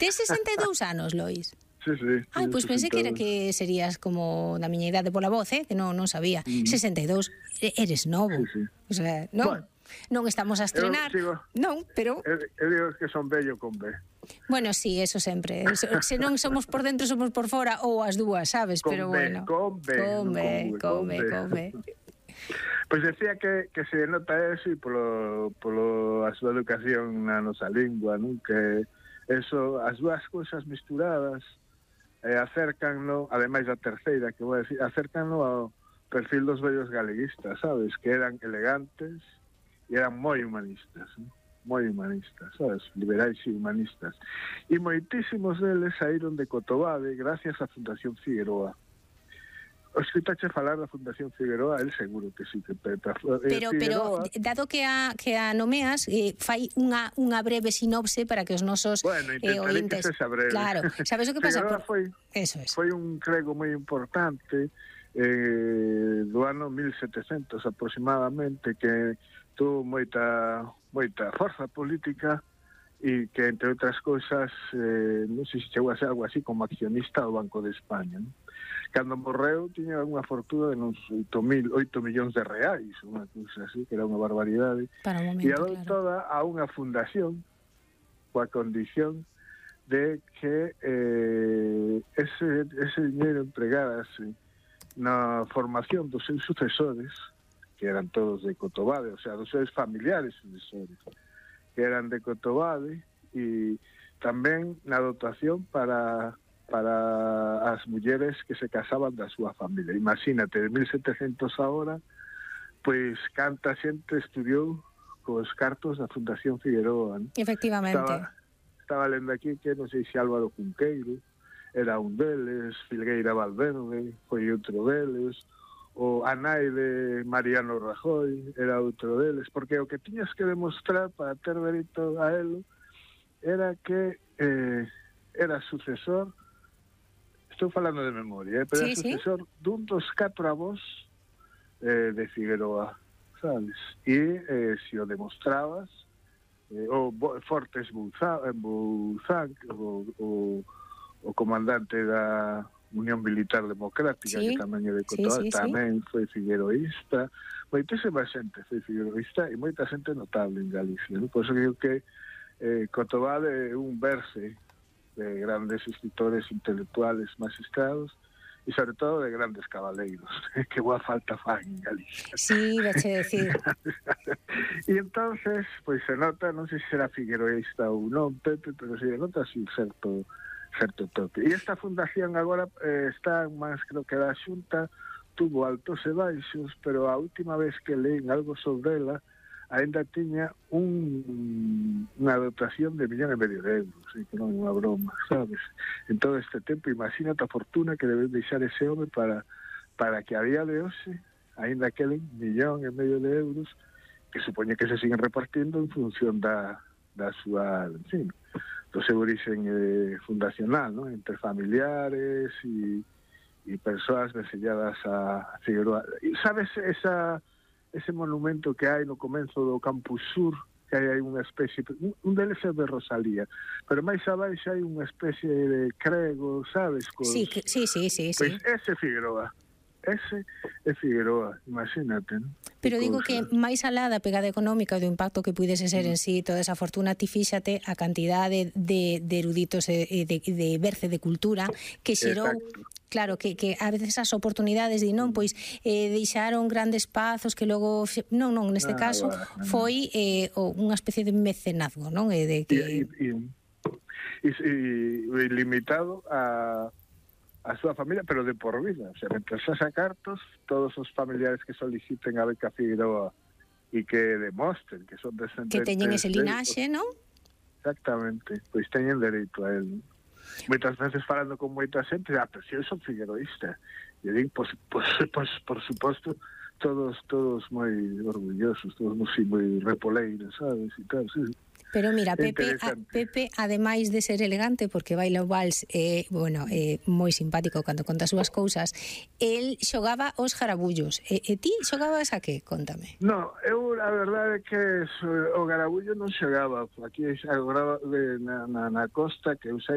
Tes 62 anos, Lois? Sí, sí. Ai, pois pensei que era que serías como da miña idade pola voz, que non sabía. 62, eres novo. Sí, sí. O sea, non, non estamos a estrenar. Non, pero... Eu digo que son bello con B. Bueno, sí, eso sempre. Se non somos por dentro, somos por fora, ou as dúas, sabes? Pero bueno. Con B. Pois decía que se nota eso e polo a súa educación na nosa lingua, non? Que eso, as dúas cousas misturadas acércanlo, ademais da terceira que vou a decir, acércanlo ao perfil dos vellos galeguistas, sabes? Que eran elegantes e eran moi humanistas, non? Moi humanistas, sabes? Liberais e humanistas. E moitísimos deles saíron de Cotobade gracias á Fundación Figueroa. O escritache falar da Fundación Figueroa, el seguro que sí que Pero dado que a nomeas, fai unha breve sinopse para que os nosos ointes... que sexa breve. Claro, sabes o que pasa? Foi un crego moi importante do ano 1700 aproximadamente, que tuvo moita forza política e que, entre outras cousas, non sei se chegou a ser algo así como accionista do Banco de España, non? Cando morreu tiña unha fortuna de uns 8 millóns de reais, unha cousa así, que era unha barbaridade, e adou toda a unha fundación coa condición de que ese dinheiro empregárase na formación dos seus sucesores, que eran todos de Cotobade, o sea, dos seus familiares sucesores, que eran de Cotobade, e tamén na dotación para as mulleres que se casaban da súa familia. Imagínate, de 1700 agora, pois canta xente estudiou cos cartos da Fundación Figueroa, ¿no? Efectivamente. Estaba lendo aquí que non sei se Álvaro Cunqueiro era un deles, Filgueira Valverde foi outro deles, o a nai de Mariano Rajoy era outro deles, porque o que tiñas que demostrar para ter dereito a elo era que era sucesor, estou falando de memoria, pero era sucesor dun dos 4 avós de Figueroa, sabes? E se o demostrabas, o Fortes Bouzán, o comandante da Unión Militar Democrática, que tamén é de Cotobade, tamén foi figueroísta, moitísima xente foi figueroísta e moita xente notable en Galicia, ¿no? Por eso digo que Cotobade é un verse de grandes escritores intelectuales magistrados e sobre todo de grandes cabaleiros, que boa falta fan en Galicia. Sí, veche decir. E entonces, pois se nota, non sei se será figueroísta ou non, Pepe, pero se nota así certo toque. E esta fundación agora está máis, creo que da Xunta, tuvo altos e baixos, pero a última vez que leín algo sobre ela, ainda tiña unha dotación de 1,5 millón de euros, que non é unha broma, sabes? En todo este tempo, imagínate a fortuna que debe deixar ese home para que a día de hoxe, ainda queden 1,5 millón de euros, que supoñe que se siguen repartindo en función da súa, en fin, do seu origen fundacional, ¿no? Entre familiares e persoas veselladas a Figueroa. E sabes ese monumento que hai no comenzo do Campus Sur, que hai unha especie, un deles é de Rosalía, pero máis abaixo hai unha especie de crego, sabes? Sí. Pois ese Figueroa, imagínate, ¿no? Pero digo que máis alá da pegada económica e do impacto que puidese ser en sí toda esa fortuna, ti fíxate a cantidade de eruditos e de berce de cultura que xerou. Claro, que a veces as oportunidades de non, pois deixaron grandes espazos que logo non, neste caso foi unha especie de mecenazgo, non? E limitado a súa familia, pero de por vida, o sea, mentre xa cartos, todos os familiares que soliciten a beca Figueroa e que demostren que son descendentes, que teñen ese linaxe, non? Exactamente, pois teñen dereito a él. Moitas veces falando con moita xente, pero se eu son figueroísta, e digo, por suposto, todos moi orgullosos, todos moi repoleiros, sabes, e tal, sí. Pero mira, Pepe, ademais de ser elegante, porque baila o vals, moi simpático cando conta as súas cousas, el xogaba os garabullos. E ti xogabas a que? Contame. No, eu a verdade é que o garabullo non xogaba. Aquí agora na costa, que eu sei,